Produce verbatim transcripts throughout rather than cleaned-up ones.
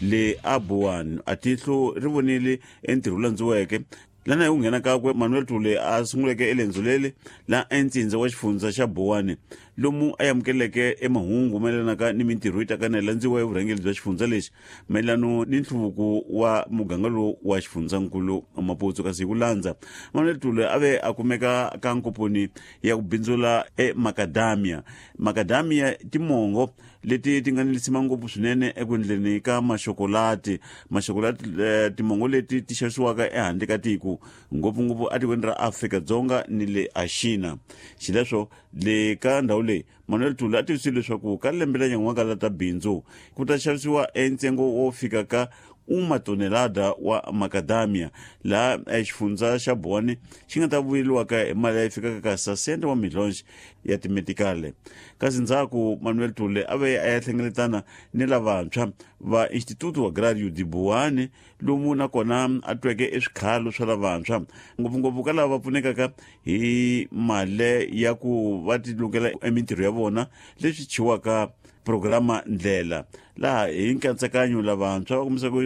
Le a Boane a tihlo ri vonile entirho landziweke lana hi ku nghena kakwe Manuel Tule a sunguleke elendzo leli la entsindza wa xifundza xa Boane lomu a amukeleke emahungu mayelanaka ni mintirho yi taka na landziwa hi vurhangeri bya xifundza lexi mayelano ni nhluvuko wa muganga lowu wa xifundzankulu Maputo. Kasi hi ku landza Manuel Tule a ve a kumeka ka nkoponi ya ku bindzula eMacadamia. Macadamia timongo leti ti nga ni lisima ngopfu swinene eku endleni ka maxokolati maxokolati timongo leti ti xavisiwaka ehandle ka tiko ngopfungopfu etikweni ra Afrika-Dzonga ni le Axina. Xileswo le ka ndhawu leyi Manuel Tule a tivisile leswaku ka lembe la nyan'waka la ta bindzu ku ta xavisiwa entsengo wo fika ka uma tonelada wa macadamia laha xifundza xa Boane xi nga ta vuyeriwaka hi mali leyi fikaka ka sasente wa milhonji ya timetikale. Kasi ndzhaku Manuel Tule a ve a ya hlengeletana ni lavantshwa va Instituto Agrario de Boane lomu nakona a tweke eswikhalo swa lavantshwa ngopfungopfu ka lava va pfunekaka hi mali ya ku va ti lukela emintirho ya vona leswi chiwaka programa ndlela laha hi nkatsakanyo lavantshwa va kombisaka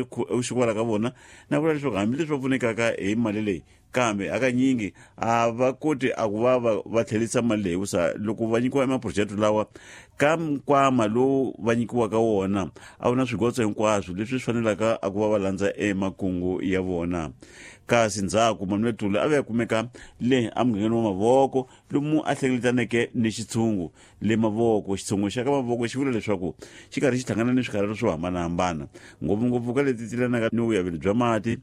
xikwala ka vona na vula leswaku hambileswi va pfunekaka hi mali leyi kambe hakanyingi a va koti a ku va va va tlherisa mali leyi hikusa loko va nyikiwa emaphurojeke lawa ka nkwama lowu va nyikiwaka wona a wu na swigotso hinkwaswo leswi swi fanelaka a ku va va landza emakungu ya vona. Kasi ndzhaku Manuel Tule a ve a kumeka le emugangeni wa Mavoko lomu a hlengeletaneke ni xitshungu le Mavoko. Xitshungu xa ka Mavoko xi vula leswaku xi karhi xi hlangana ni swikarhelo swo hambanahambana ngopfungopfu ka leti tilanaka ni vuyaveli bya mati,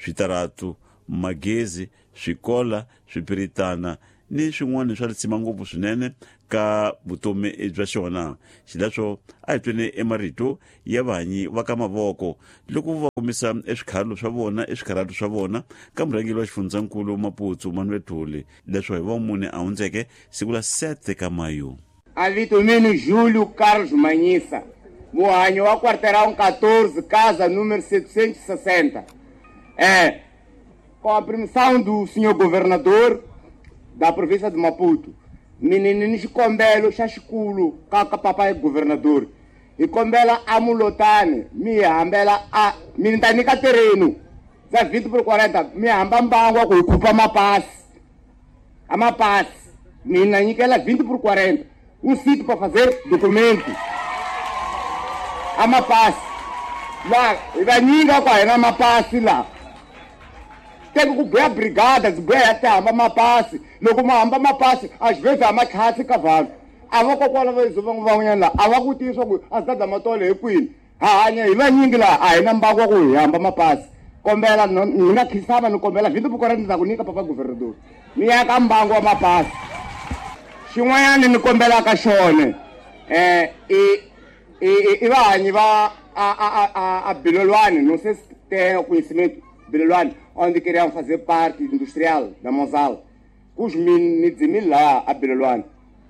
switaratu, magezi, swikola, swipiritana ni swin'wana swa risima ngopfu swinene ka vutomi bya xona. Xileswo a hi tweni emarito ya vahanyi va ka Mavoko loko va kombisa eswikhalo swa vona eswikarhatu swa vona ka murhangeri wa xifundzankulu Maputo Manuel Tule leswo hi va mune a hundzeke siku la sete ka Mayu. A vito mino Júlio Carlos Manhissa, muhanyi wa quarteirão catorze, casa número setecentos e sessenta. É, com a permissão do senhor governador da província de Maputo, menino ni xikombelo xa xikulu ka ka papai governador, hi kombela a mulotani mi hambela a mi ta nyika terreno za vinte por quarenta mi hamba mbangu ku hi khupa mapasi a mapasi mina nyikela vinte por quarenta um sítio para fazer documento a mapasi lá hi va nyika ku a hi na mapasi la tem ku buya brigada zibuya ya hamba mapasi loko ma hamba mapasi às vezes a matlhatsi ka vanhu a va kokwana va van'wanyana la a va ku tivisa ku a zidada matole hi kwini ha hanya hi vanyingi laha a hi na mbangu wa ku hi hamba mapasi kombela ni nga khisama ni kombela vinte por quarenta ni ta ku nyika papa governador ni ya ka mbangu wa mapasi. Xin'wanyana ni kombelaka xona eh i i i vahanyi va a a a a Bilolwane não sei se tem o conhecimento Bilolwane onde queriam fazer parte industrial da Mozal. Kus min lá a Bilolwane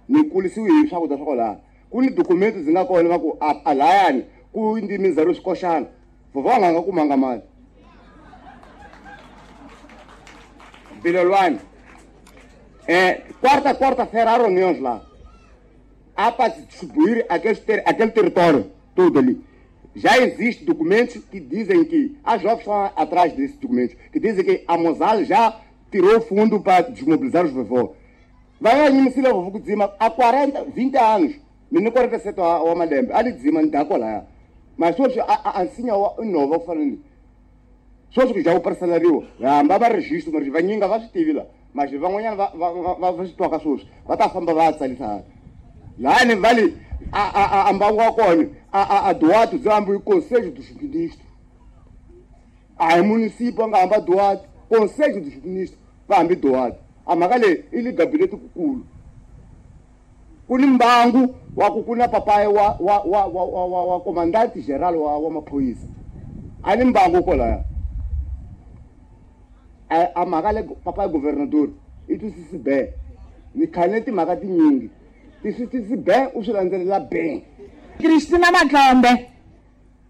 ni kulisiwe hi swakudya swa kwalaho ku ni documento ndzi nga kona va ku a layani ku ndi mindzhalo swikoxana vovho nga nga kumanga mali Bilolwane é quarta quarta-feira há reuniões lá há para distribuir aquele, ter, aquele território todo ali. Já existem documentos que dizem que as jovens estão atrás desses documentos, que dizem que a Mozal já tirou fundo para desmobilizar os vovó. Vai aí, me se leva vovó dizima há quarenta, vinte anos, menino quarenta e sete ao malembe, ali dizima não dá colar. Mas hoje a ansinha nova falando. Só que já o parcelario, hamba registro, mas vai ninguém vai se lá. Mas van'wanyana va va va va swi twaka sweswi va ta famba va tsarisa laha ni vale a a a mbangu wa kona a a a Duarte byi hambi Conselho dos Ministros a hi município a nga hamba Duarte Conselho dos Ministros va hambi Duarte a mhaka leyi i le gabinete kukulu ku ni mbangu wa ku ku na papayi wa wa wa wa wa wa comandante geral wa wa maphorisa a ni mbangu kwalaya a a mhaka le papayi governador i twisisi be ni khale timhaka tinyingi ti swi twisisi be u swi landzelela be. Cristina Matlombe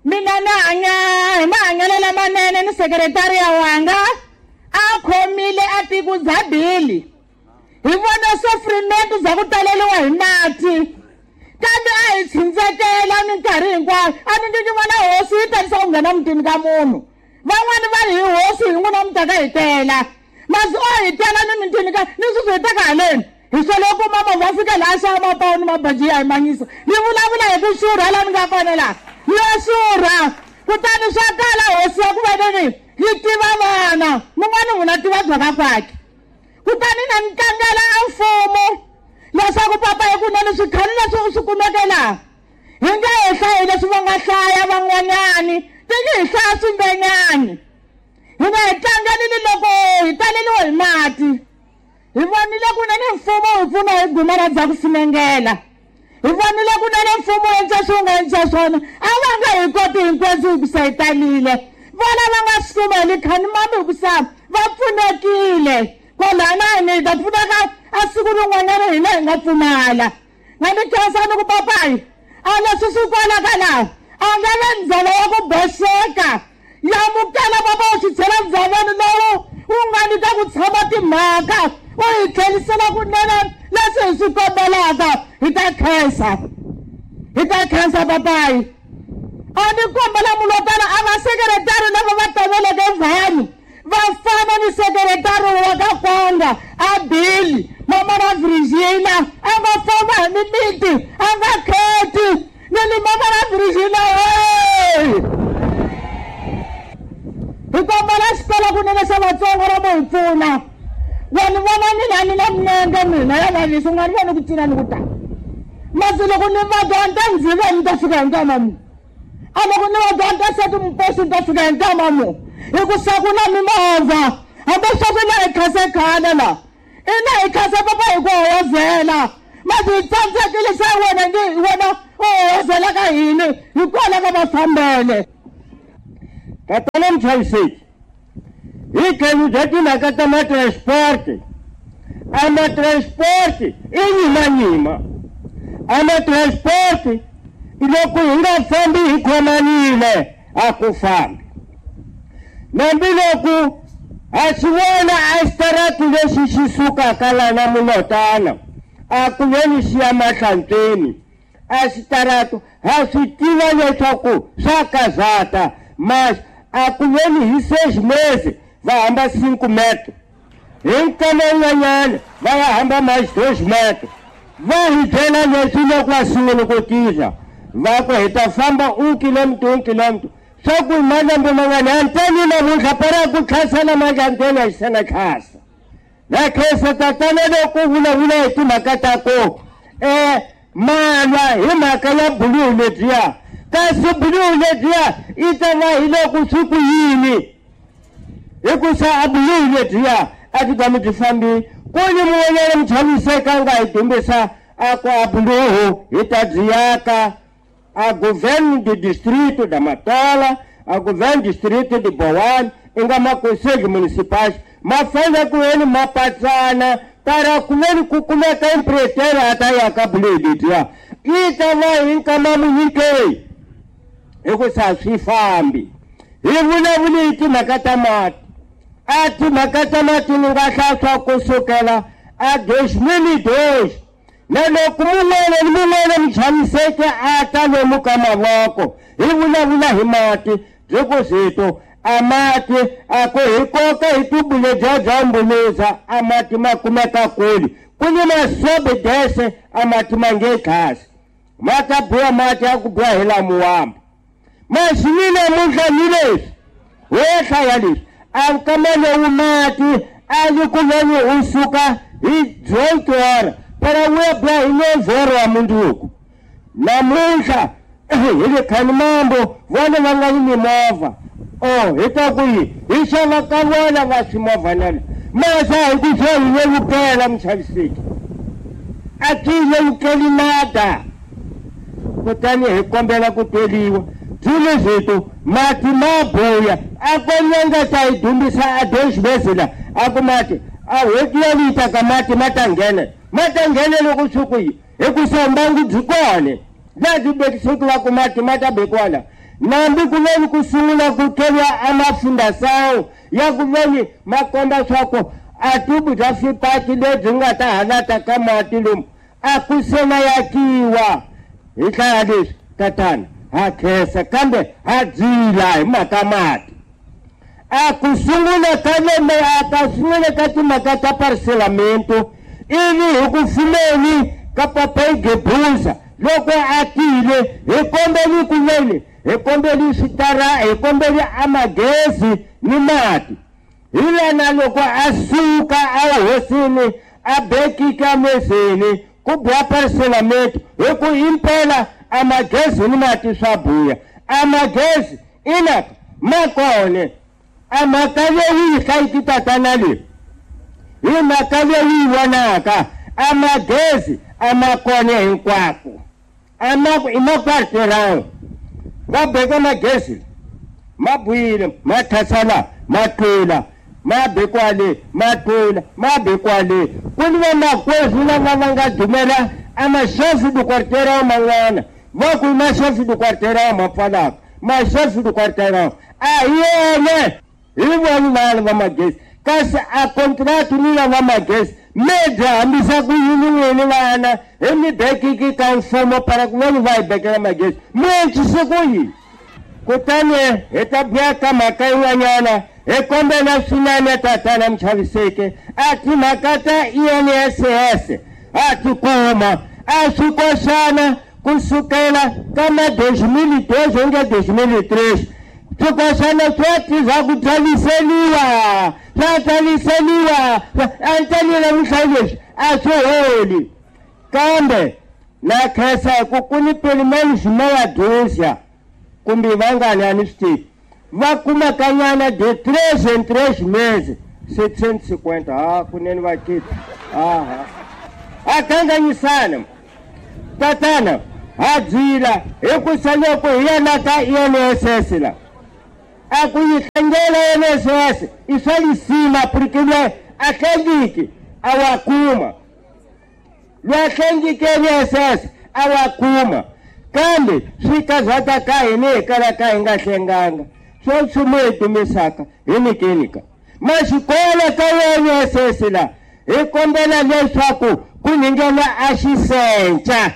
mina ni hanya hi mahanyelo lamanene ni sekretariya wanga a khomile a tiko bya bili hi vona sofrimento bya ku taleriwa hi mati Kambe a hi tshindzekela minkarhi hinkwayo. A ni nge vona hosi yi tarisa ku nghena mutini ka munhu. Van'wani va ri hi hosi hi n'wina mi taka hi tela. Masi o hi tela ni mitini ka ni sweswi hi taka haleni. Hi swele ku kuma movha fika laha xava mapawu ni mabaji ya hi manyisa. Ni vulavula hi ku xurha laha ni nga kona laha. Ya xurha. Kutani swa kala hosi ya ku va nini yi tiva vana. Mun'wana n'wina tiva bya ka kwakhe. Kutani na ni tlangela a mfumo leswaku papa hi kunene swikhale leswi u swi kumeke laha. Hi nga hi hlayi leswi va nga hlaya van'wanyani ti nge hi hlaya swimbenyani. Hi nga hi tlangelini loko hi taleliwe hi mati. Hi vonile kunene mfumo wu pfuna hi guma ra bya ku funengela. Hi vonile kunene mfumo wu endla swi wu nga endla swona. A va nga hi koti hinkwaswo hikusa hi talile. Vona va nga swi kuma hi likhani mami hikusa va pfunekile. Kwalana ni ta pfuneka a siku rin'wanyana hina hi nga pfumala. Nga ni khensa ni ku papayi a leswi swi kwalaka laha a nga ve ndzhava ya ku boxeka. Yamukela papa u swi chela ndzhaveni lowu wu nga ni ta ku tshama timhaka u hi tlhelisela kunene leswi hi swi kombelaka. Hi ta khensa. Hi ta khensa papayi. A ni kombela mulotana a va sekretari lava va tameleke vanhu va fana ni sekretari wa ka Kwanga a Billy mama na Virginia a nga famba hi mimiti a nga kheti ni ni mama na Virginia hey! Hi kombela xikolo kunene xa Vatsonga ra mo hi pfuna. Vanhu vona mina ni na minenge mina ya vavisa u nga ni voni ku cina ni ku ta. Masi loko ni vabya ni ta ndziva ni ta fika hi nkama mu. A loko ni vabya ni ta seti mpoxo ni ta fika hi nkama mu. Hikusa ku na mimovha hambi sweswi na hi khase khale la. Ina hi khase papa hi ku hoyozela. Masi hi tsandzekile xa wena nge wena u hoyozela ka hini hikwalaho ka mafambele. Tatana Mchaviseki, hi tlhelo bya timhaka ta ma-transport. A ma-transport i nyimanyima. A ma-transport loko hi nga fambi hi khomanile a ku fambi. Nambiloko ha swi vona a xitarati lexi xi sukaka lana Mulotana a ku veni xi ya Mahlantsweni. A xitarati ha swi tiva leswaku swa kazata. Mas a ku veni hi seis meses va hamba cinco metros. Hi nkama wun'wanyana va ya hamba mais dois metros. Va hi byela leswi loko va sungula ku tisa va ku hi ta famba un kilómetro un kilómetro. Swa ku malembe man'wana anteni namuntlha para ku tlhasela malandeni a xi na tlhasa. Na khensa tatana loko vulavula hi timhaka ta ku um malwa hi mhaka ya buluhu lebyiya. Kasi buluhu lebyiya i ta va hi loko swi ku yini. Hikusa a buluhu lebyiya a byi tshami byi fambile. Ku ni mun'wanyana muchaviseki a nga hi dumbisa a ku a buluhu hi ta byi yaka a governo do distrito da Matola, a governo do distrito de Boane, i nga maconselho municipais ma fanele ku veni ma patsana para ku veni ku kumeka empreiteiro a ta yaka buluhu lebyiya. I ta va hi nkama munyikei hikusa swi fambi. Hi vulavuli hi timhaka ta mati. A timhaka ta mati ni nga hlaya ku sukela a dois mil e dois. Na loko mun'wana ni mun'wana muchamiseki a ta lomu ka mavoko hi vulavula hi mati byi ku zito a mati a ku hi koka hi tubu lebyiya bya mbuluza a mati ma kumeka kule. Ku ni masobidese a mati ma nge tlhasi. Ma ta buya mati ya ku buya hi lamuwamba. Masi ni namuntlha ni leswi wo hlaya leswi a nkama lowu mati a yi ku veni u suka hi dzontora para wu ya buya hi novhero wa mundzuku. Namuntlha hi le Khanimambo vona va nga ni mimovha. Oh hi ta ku yi hi xava ka vona va swimovhanana. Masi a hi ku swo hi vevukela muchaviseki. A ti vevukeli nada. Kutani hi kombela ku tweliwa. Byi zito mati ma buya a ko nyanga ta hi dumbisa a dois meses la a ku mati a hweti ya lita ka mati ma ta nghena. Ma ta nghena loko swi ku yi hikusa mbangu byi kona. Laha byi bekisiweke va ku mati ma ta bekiwa la. Nambi ku veni ku sungula ku thoriwa a mafundasawu ya ku veni ma komba swa ku a tubu bya swipaki lebyi nga ta halata ka mati lomu a ku se na yakiwa. Hi hlaya leswi tatana ha khensa kambe ha dzila hi mhaka mati. A ku sungula ka lembe a ka sungula ka timhaka ta parcelamento ivi hi ku fumeni ka Papai Gebuza loko a tile hi kombeli ku veni hi kombeli switara hi kombeli amagezi ni mati. Hi lana loko a suka a hosini a bekika mezeni ku buya parcelamento hi ku impela amagezi ni mati swa buya. Amagezi inaka makone a mhaka leyi yi hlayiki tatana leyi hi mhaka leyi yi vonaka amagezi a ma kona hinkwako a ma i makwarterão va beka magezi ma buyile ma thasala ma tlula ma be kwale ma tlula ma be kwale. Ku ni vamakwerhu lava va nga dumela a maxefu du quarteirão man'wana va ku i maxefu du quarteirão ma pfalaka maxefu du quarteirão a hi yona hi vona vana va magezi kasi a contrato ni lava magezi mi byi hambisa ku yini n'wini vana hi mi bekiki ka mfumo para ku veni va hi bekela magezi mi encise ku yini. Kutani hi ta buya ka mhaka yin'wanyana hi kombela swinene tatana Muchaviseki a timhaka ta I N S S a ti kuma a swi koxana ku sukela ka ma dois mil e doze onge dois mil e três swikoxana swa tiza ku tsaliseliwa swa tsaliseliwa a ni tsalile vuhlayi leswi a swi holi kambe na khensa hi ku ku ni pelo menos meia dúzia kumbe vangani a ni swi tivi va kumakanyana de três em três meses setecentos e cinquenta. Ah, kunene va kita aha a kanganyisana tatana ha dzila hi ku loko hi ya la ka I N S S la a ku yi hlengela I N S S i swa lisima porque lwe a hlengiki a wa kuma lwe a hlengiki I N S S a wa kuma kambe swi kazata ka hina hi kala ka hi nga hlenganga swo nchumu hi dumisaka hi nikenika maxikolo ka I N S S la hi kombela leswaku ku nghena a xisenca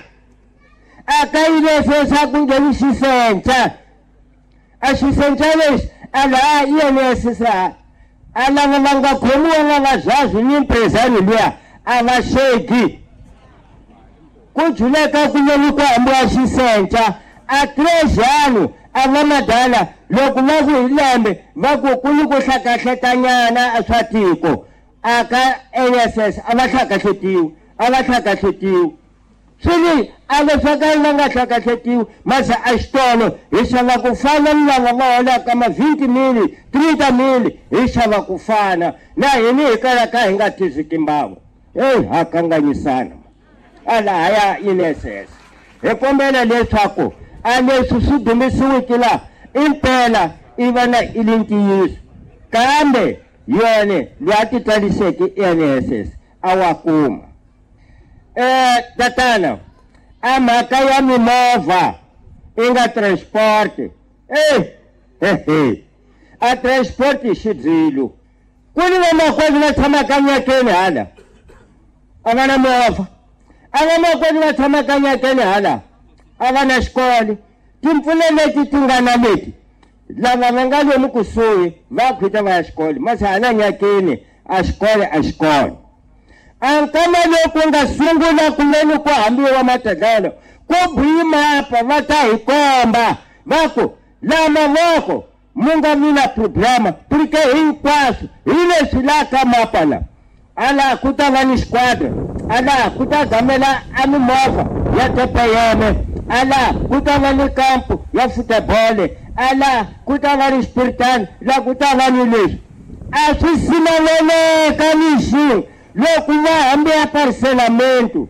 a ka I N S S a ku ngheni xisenca a xisenca lexi a laha I N S S a lava va nga khomiwa va vazazi ni mprezani luya a va xegi ku juleka ku veni ku hambiwa xisenca a três anos a va madala loko va ku hi lembe va ku ku ni ku hlakahletanyana swa tiko a ka N S S a va hlakahletiwi a va hlakahletiwi swi li a leswaku va nga hlakahletiwi mase a xitolo hi xava ku fana ni lava va holaka ma vinte mil trinta mil hi xava ku fana na hini hi kalaka hi nga tiziki mbangu. Eyi ha kanganyisana a lahaya I N S S hi kombela leswaku a leswi swi dumisiwiki laha impela i va na i li ntiyiso kambe yona loyi a ti tsaliseke I N S S a wa kuma. Eh tatana a mhaka ya mimovha i nga transport eh hehe a transport i xidzilo ku ni vamakwerhu va tshamaka nyakeni hala a va na movha a vamakwerhu va tshamaka nyakeni hala a va na xikolo timpfula leti ti nga na leti lava va nga lomu kusuhi va khwita va ya xikolo masi hala nyakeni a xikolo a xikolo. A nkama loku nga sungula ku veni ku hambiwa matadlelo ku buyi mapa va ta hi komba va ku la mavoko mu nga vi na problema porque hinkwaswo hi leswi la ka mapa la ala ku ta va ni xiquadra ala ku ta gamela a mimovha ya T P M ala ku ta va ni kampo ya futebole ala ku ta va ni xipiritani la ku ta va ni leswi a swi simeleleka ni xin'we loko va hambi ya parcelamento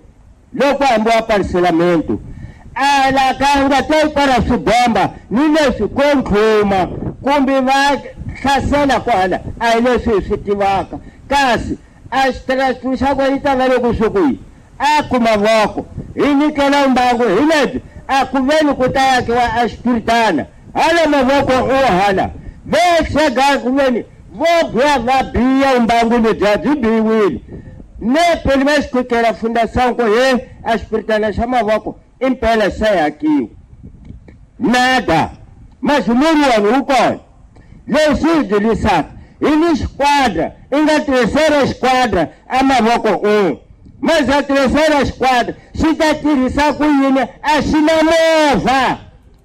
loko hambi wa parcelamento ala ka nga ta para swibomba ni leswi ko ntlhuma kumbe va hlasela kwala a hi leswi hi swi tivaka kasi a xitirasi xa ku yi ta va le kusuhi a ku mavoko hi nyikela mbangu hi lebyi a ku veni ku ta yakiwa a xipiritana hala mavoko o hala ve xega ku veni vo biya va biya mbangu lebyiya byi biwile ne pele va xikhukela fundação ku he a xipiritana xa mavoko Impela xa yakiwa. Nada. Mas murhi wona wu kona. Leswi hi byilisaka hi ni xikwada i nga terceira esquadra a mavoko un'we. Mas a terceira esquadra xi ta tirhisa ku yini a xi na movha.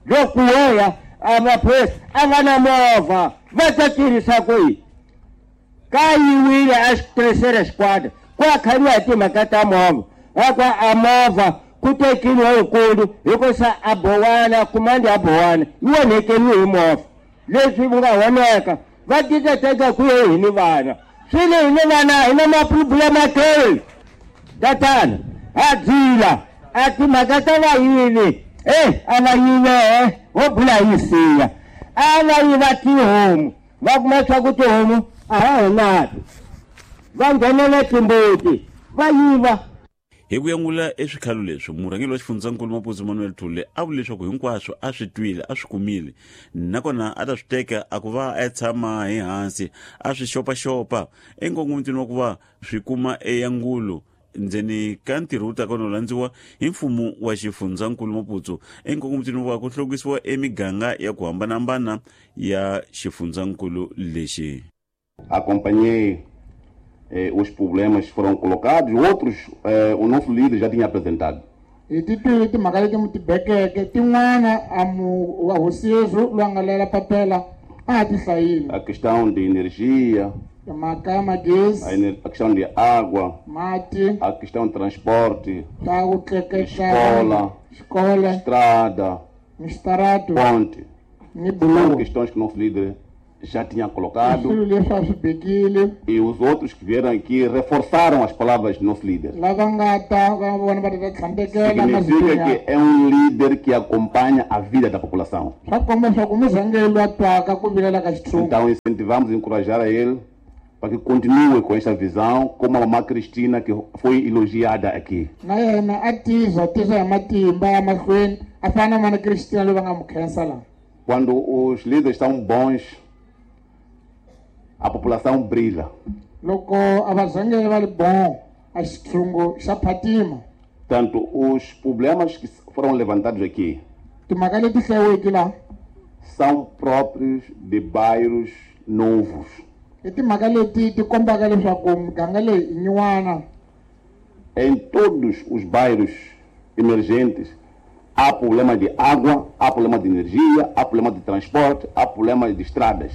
Loko wo ya a maphorisa a va na movha va ta tirhisa ku yini? Ka yiwile a terceira esquadra ku a khariwa hi timhaka ta movha. A ku a movha ku tekiwa yikulu hikusa a bowana kumandi a bowana yi onhekeriwe hi movha. Leswi nga onheka va tikateka ku ye hi ni vana. Swi le hi ni vana hi na maproblema ke. Tatana a dzila a timhaka ta vayivi eh a va yive ho bula yi siya a va yiva tihomu va kuma swa ku tihomu a ha ha nato va nghenela timbuti va yiva. Hi ku yangula eswikhalo leswi murhangeri wa xifundzankulu Maputsu Manuel Thule a vule leswaku hinkwaswo a swi twile a swi kumile nakona a ta swi teka a ku va a tshama hi hansi a swi xopaxopa enkongomitweni wa ku va swi kuma eyangulo ndzeni ka ntirho wu ta kona landziwa hi mfumo wa xifundzankulu Maputsu enkongomitweni wa ku hluvukisiwa emiganga ya ku hambanahambana ya xifundzankulu lexi. Acompanhei eh, os problemas foram colocados, outros eh, o nosso líder já tinha apresentado. Hi ti twile timhaka leti mu ti bekeke tin'wana a mu wa hosi Yesu loyi a nga lela papela a ha ti hlayile. A questão de energia, timhaka ya magezi, a questão de água, mati, a questão de transporte, ta ku tleketla, escola, xikolo, estrada, mistarato, ponte. Ni buloho. São questões que o nosso líder já tinha colocado. E E os outros que vieram aqui reforçaram as palavras do nosso líder. Significa que é um líder que acompanha a vida da população. Então incentivamos e encorajar a ele para que continue com essa visão, como a mamã Cristina, que foi elogiada aqui. Quando os líderes são bons, a população brilha. Tanto os problemas que foram levantados aqui são próprios de bairros novos. Em todos os bairros emergentes há problema de água, há problema de energia, há problema de transporte, há problema de estradas.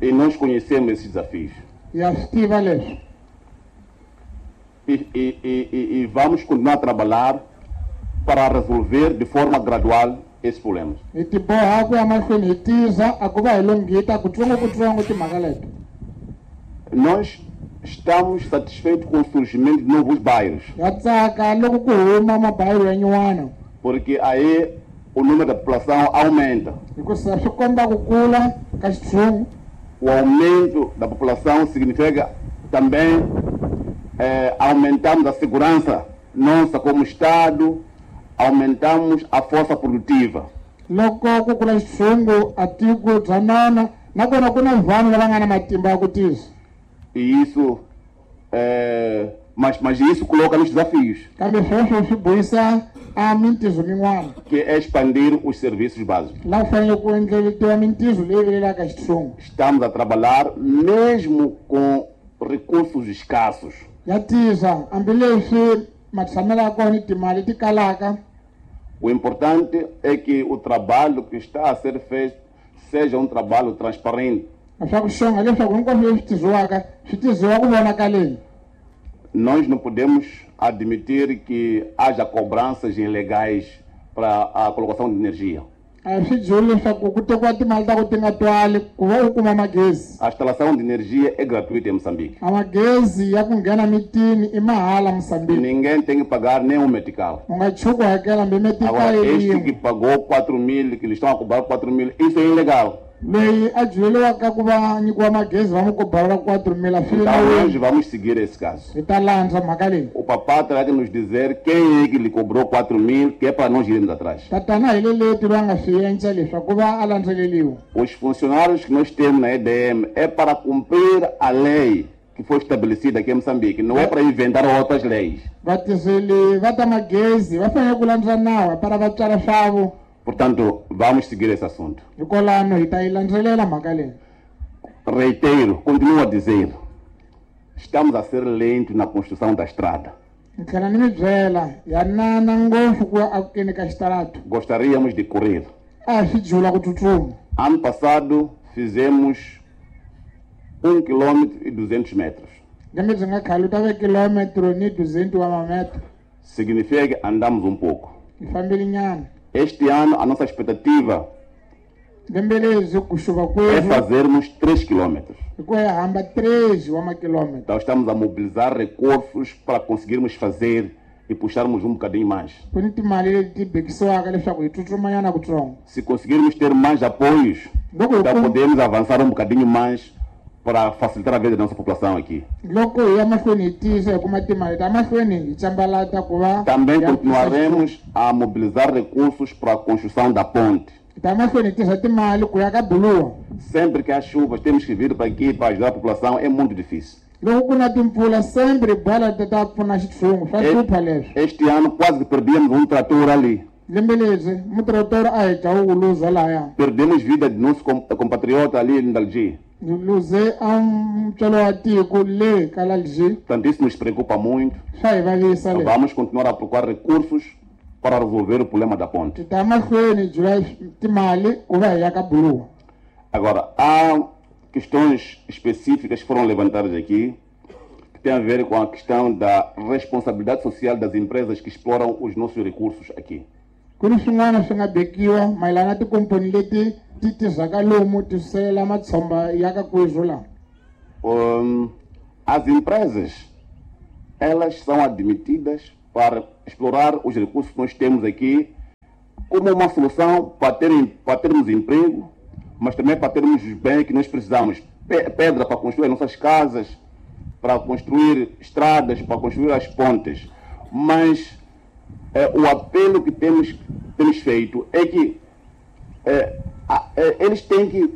E nós conhecemos esses desafios. E, e, e, e vamos continuar a trabalhar para resolver de forma gradual esses problemas. Nós estamos satisfeitos com o surgimento de novos bairros. Porque aí o número da população aumenta. O aumento da população significa também eh, aumentamos a segurança nossa como Estado, aumentamos a força produtiva. E isso, é, mas, mas isso coloca nos desafios, que é expandir os serviços básicos. Estamos a trabalhar mesmo com recursos escassos. O importante é que o trabalho que está a ser feito seja um trabalho transparente. Nós não podemos admitir que haja cobranças ilegais para a colocação de energia. A instalação de energia é gratuita em Moçambique. Ninguém tem que pagar nenhum metical. Agora, este que pagou quatro mil, que eles estão a cobrar quatro mil, isso é ilegal. Então nós vamos seguir esse caso. O papá terá que nos dizer quem é que lhe cobrou quatro mil, que é para nós irmos atrás. Os funcionários que nós temos na E D M é para cumprir a lei que foi estabelecida aqui em Moçambique, não é para inventar outras leis. Vatirheli va ta magezi va fanele ku landza nawu para va tswala swavo. Portanto, vamos seguir esse assunto. Hikwalano hi ta yi landzelela mhaka leyi. Reitero, continuo a dizer, estamos a ser lentos na construção da estrada. Ni tlhela ni mi byela ya nana ngopfu ku ya akeni ka xitarato. Gostaríamos de correr. A swi jula ku tsutsuma. Ano passado fizemos um quilômetro e duzentos metros. Lembe byi nga khale u ta ve kilómetro ni duzentos wa mametro. Significa que andamos um pouco. Hi fambile nyana. Este ano a nossa expectativa lembe lezi ku xuva é kwerhu fazermos três quilômetros. hi ku ya hamba três wa makilômetro. Então estamos a mobilizar recursos para conseguirmos fazer e puxarmos um bocadinho mais. Ku ni timali leti bekisiwaka leswaku hi tsutsumanyana kutsongo. Se conseguirmos ter mais apoios, Loko hi então kum- podemos avançar um bocadinho mais para facilitar a vida da nossa população aqui. loko hi ya mahlweni hi tiyisa hi kuma timali ta mahlweni hi cambalata ku va Também hi antswisa continuaremos a mobilizar recursos para a construção da ponte. xitulu. Ta mahlweni hi tirhisa timali ku ya ka buluwa. Sempre que há chuvas, temos que vir para aqui para ajudar a população, é muito difícil. Loko ku na timpfula sempre hi bola ti ta pfuna xitshungu swa hlupha leswi. Este ano quase que perdemos um trator ali. Lembe lebyi mutirotoro a hi dya wu luza lahaya. Perdemos vida de nosso com- compatriota ali em Dalgi. Hi luze a mutswalo wa tiko le ka Lalji. Portanto, isso nos preocupa muito. Swa hi vavisa leswi. Vamos continuar a procurar recursos para resolver o problema da ponte. Ti ta mahlweni hi jula timali ku va hi ya ka buluwa. Agora, há questões específicas que foram levantadas aqui que têm a ver com a questão da responsabilidade social das empresas que exploram os nossos recursos aqui. Ku ni swin'wana swi nga bekiwa mayelana na tikomponi leti ti tirhaka lomu ti suselela matshomba ya ka kwezu laha. Hum, as empresas, elas são admitidas para explorar os recursos que nós temos aqui como uma solução para, terem, para termos emprego, mas também para termos os bens que nós precisamos. Pe- Pedra para construir as nossas casas, para construir estradas, para construir as pontes. Mas eh, o apelo que temos, temos feito é que eh, a- eh, eles têm que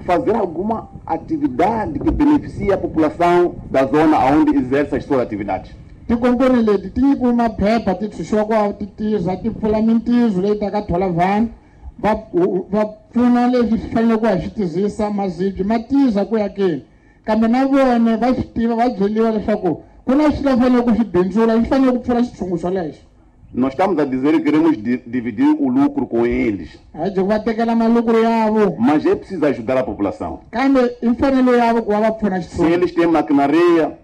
fazer alguma atividade que beneficie a população da zona onde exerce as suas atividades. Tikomponi leti ti nyikiwe maphepha ti tshunxiwa ku va ti tirha ti pfula mintirho leyi taka thola vanhu va va pfuna leswi swi faneleke ku va swi tirhisa mazibyi ma tirha ku ya keni kambe na vona va swi tiva va byeriwa leswaku ku na swilo va faneleke ku swi bindzula swi fanele ku pfula xitshungu xolexo. Nós estamos a dizer que queremos di- dividir o lucro com eles, A hi ku va tekela malukuru yavo mas é preciso ajudar a população. kambe i mfanelo yavo ku va va pfuna Se xitshungu. eles têm maquinaria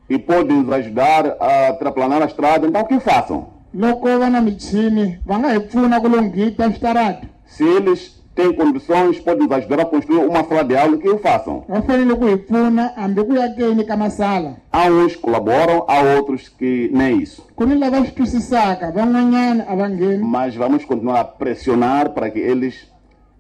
e podem nos ajudar a terraplanar a estrada, então que façam. Loko va na michini va nga hi pfuna ku lunghita switarata. Se eles têm condições, podem nos ajudar a construir uma sala de aula, que o façam. Va fanele ku hi pfuna hambi ku yakeni ka masala. Há uns que colaboram, há outros que nem isso. Ku ni lava swi twisisaka van'wanyana a va ngheni. Mas vamos continuar a pressionar para que eles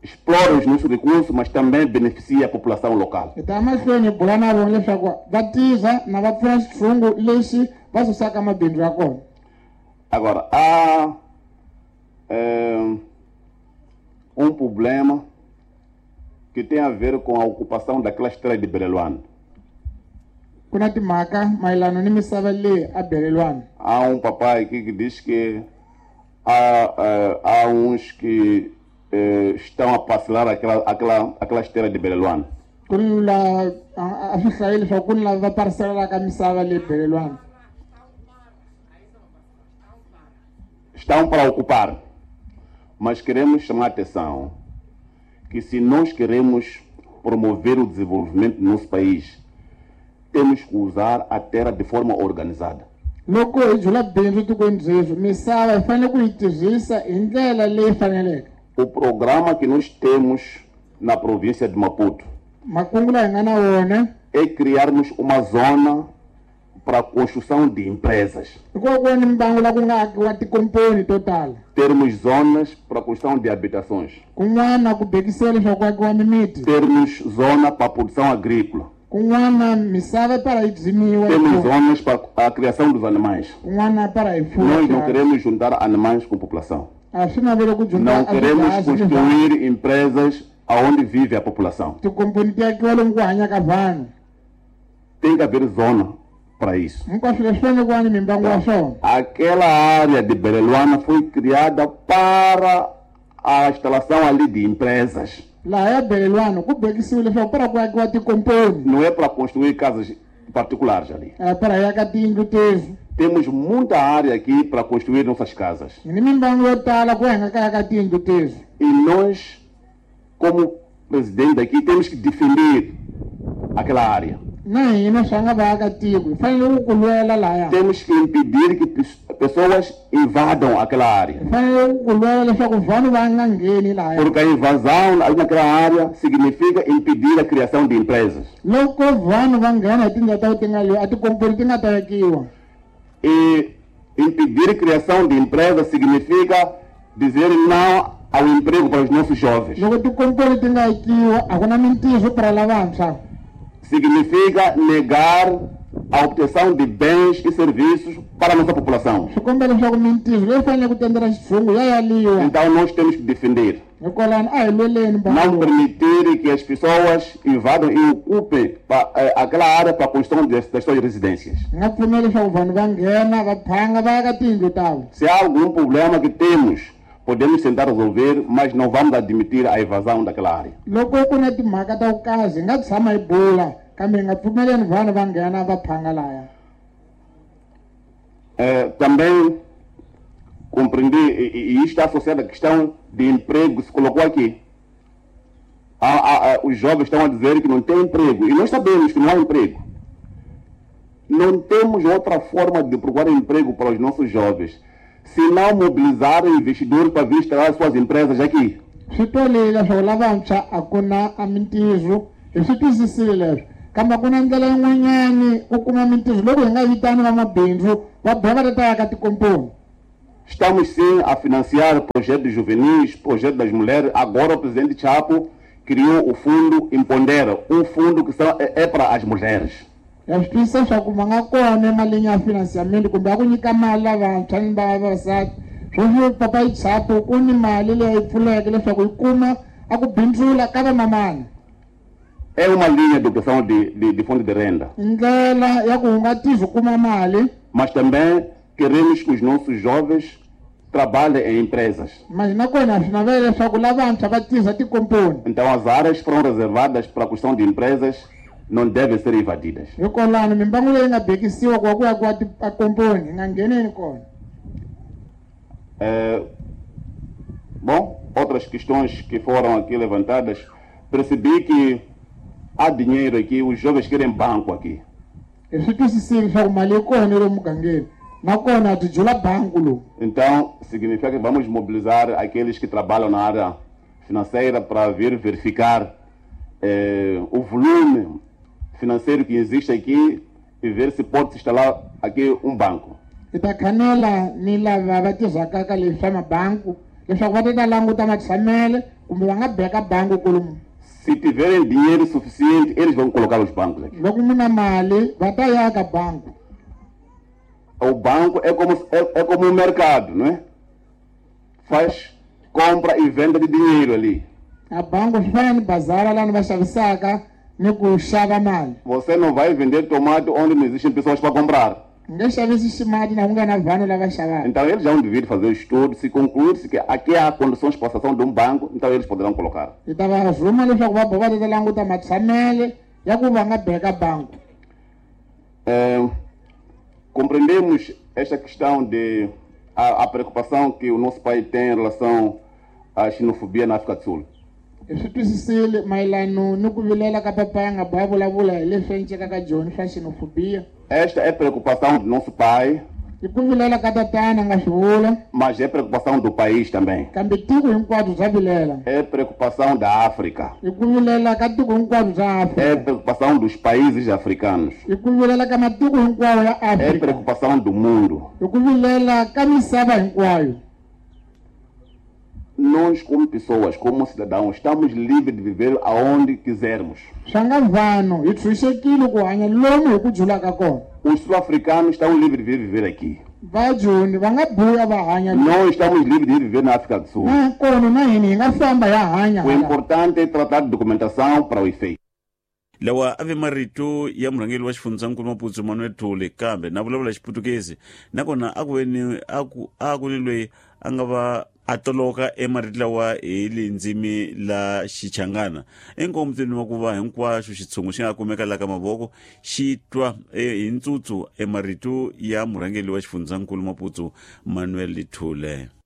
explorem os nossos recursos, mas também beneficiem a população local. Hi ta mahlweni hi bula na vona leswaku va tirha na va pfuna xitshungu lexi va susaka mabindzu ya kona. Agora, há eh, um problema que tem a ver com a ocupação daquela estrada de Bereluane. Ku na timhaka mayelana ni misava leyi a Belelwana. Há um papai aqui que diz que há, eh, há uns que eh, estão a parcelar aquela, aquela, aquela esteira de Belelwana. Ku ni la a a swi hlayile leswaku ku ni lava va parcelaka misava leyi Belelwana. Estão para ocupar. Mas queremos chamar a atenção que se nós queremos promover o desenvolvimento do nosso país, temos que usar a terra de forma organizada. Loko hi jula bindzu tikweni byeswi misava hi fanele ku yi tirhisa hi ndlela leyi faneleke. O programa que nós temos na província de Maputo Makungu lawa hi nga na wona é criarmos uma zona para a construção de empresas. I ku va ku va ni mbangu la ku nga akiwa tikomponi to tala. Termos zonas para a construção de habitações. Kun'wana ku bekisiwa leswaku ku akiwa mimiti. Termos zona para a produção agrícola. Kun'wana misava para yi byimiwa. Temos zonas para a criação dos animais. Kun'wana para hi fuwa Nós não swiharhi. queremos juntar animais com população. A swi navele ku Não junta queremos construir empresas aonde vive a população. Tikomponi ti akiwa lomu ku hanyaka vanhu. Tem que haver zona para isso. Hinkwaswo leswi fanele ku va ni mimbangu ya swona. Aquela área de Beleluana foi criada para a instalação ali de empresas. Laha ya Beleluana ku bekisiwe leswaku para ku akiwa tikomponi. Não é para construir casas particulares ali. É para aka tiyindlu tezi. Temos muita área aqui para construir nossas casas. Hi ni mimbangu yo tala ku hi nga ka aka tiyindlu tezi. E nós, como presidente aqui, temos que defender aquela área. Na hina swa nga vaakatiko hi fanele ku lwela laya. Temos que impedir que pessoas invadam aquela área. Hi fanele ku lwela leswaku vanhu va nga ngheni laya. Porque a invasão ali naquela área significa impedir a criação de empresas. Loko vanhu va nghena hi tindlela ta ku ti nga a tikomponi ti nga ta akiwa. E impedir a criação de empresas significa dizer não ao emprego para os nossos jovens. Loko tikomponi ti nga akiwa a ku na mintirho para lavantshwa. Significa negar a obtenção de bens e serviços para a nossa população. Então nós temos que defender. Não permitir que as pessoas invadam e ocupem aquela área para a construção das suas residências. Se há algum problema que temos, podemos tentar resolver, mas não vamos admitir a invasão daquela área. Loko ku na timhaka ta ku kazi hi nga tshama hi bula kambe hi nga pfumeleni vanhu va nghena va phanga laya. Eh, também compreendi, e, e isto está associado à questão de emprego que se colocou aqui. A, a, a, os jovens estão a dizer que não tem emprego, e nós sabemos que não há emprego. Não temos outra forma de procurar emprego para os nossos jovens, se não mobilizar investidores para vir instalar suas empresas aqui. Swi twalile leswaku lavantshwa a ku na a mintirho, hi swi twisisile leswo, kambe ku na ndlela yin'wanyani ku kuma mintirho loko hi nga vitani vamabindzu va boha va ta ta aka tikomponi. Estamos sim a financiar projetos juvenis, projetos das mulheres. Agora o presidente Chapo criou o fundo Empodera, um fundo que só é, é para as mulheres. Ya swi twisisa leswaku va nga kona emalini ya financiamento kumbe ya ku nyika mali lavantshwa ni vavasati. Sweswi Papa Chapo ku ni mali leyi pfuleke leswaku yi kuma a ku bindzula ka vamamana. É uma linha de obtenção de, de, de fundo de renda. Ndlela ya ku hungatisa kuma mali. Mas também queremos que os nossos jovens trabalhem em empresas. Mas nakona swi navela leswaku lavantshwa va tirhisa tikomponi. Então as áreas foram reservadas para a construção de empresas não devem ser invadidas. Hikwalaho mimbangu leyi nga bekisiwa ku va ku akiwa tikomponi hi nga ngheneni kona. É, bom, outras questões que foram aqui levantadas, percebi que há dinheiro aqui, os jovens querem banco aqui. Hi swi twisisile leswaku mali yi kona lomu mugangeni, nakona byi jula banku lowu. Então, significa que vamos mobilizar aqueles que trabalham na área financeira para vir verificar eh, o volume financeiro que existe aqui e ver se pode se instalar aqui um banco. Hi ta khanela ni lava va tirhaka ka leswi swa mabanku leswaku va ta ta languta matshamele kumbe va nga beka banku kolomu. Se tiverem dinheiro suficiente, eles vão colocar os bancos aqui. Loko mu na mali va ta ya ka banku. O banco é como, é, é como um mercado, não é? Faz compra e venda de dinheiro ali. A banco swi fana ni bazara laha ni va xavisaka ni ku xava mali. Você não vai vender tomate onde não existem pessoas para comprar. Nge xavisi ximati na ku nga na vanhu lava xavaka. Então eles já vão dever fazer o estudo, se concluir-se que aqui há condições para a situação de um banco, então eles poderão colocar. Hi ta va rhuma leswaku va boha va ta languta matshamele ya ku va nga beka banku. É, compreendemos esta questão de a, a preocupação que o nosso país tem em relação à xenofobia na África do Sul. Hi swi twisisile mayelano ni ku vilela ka papa ya nga boha vulavula hi leswi enceka ka joni swa xenofobia. Esta é preocupação do nosso pai. I ku vilela ka tatana nga swi vula. Mas é preocupação do país também. Kambe tiko hinkwabyo bya vilela. É preocupação da África. I ku vilela ka tiko hinkwabyo bya África. É preocupação dos países africanos. I ku vilela ka matiko hinkwawo ya África. É preocupação do mundo. I ku vilela ka misava hinkwayo. Nós, como pessoas, como cidadãos, estamos livres de viver aonde quisermos. Swa nga vanhu hi tshunxekile ku hanya lomu hi ku julaka kona. Os sul-africanos estão livres de vir viver aqui. Vajoni va nga buya va hanya. Nós estamos livres de ir viver na África do Sul. Na kona na hina hi nga famba ya hanya. O importante é tratar de documentação para o efeito. Lawa a ve marito ya murhangeri wa xifundzankulu Maputo Manuel Thule, kambe na vulavula xiputukezi nakona a ku ve ni a ku a ku ni loyi a nga va a toloka emarito lawa hi lindzimi la xichangana enkomutini wa ku va hinkwaxo xitshungu xi nga kumeka la ka mavoko xi twa hi ntsutsu emarito ya murhangeri wa xifundzankulu Maputo Manuel Thule.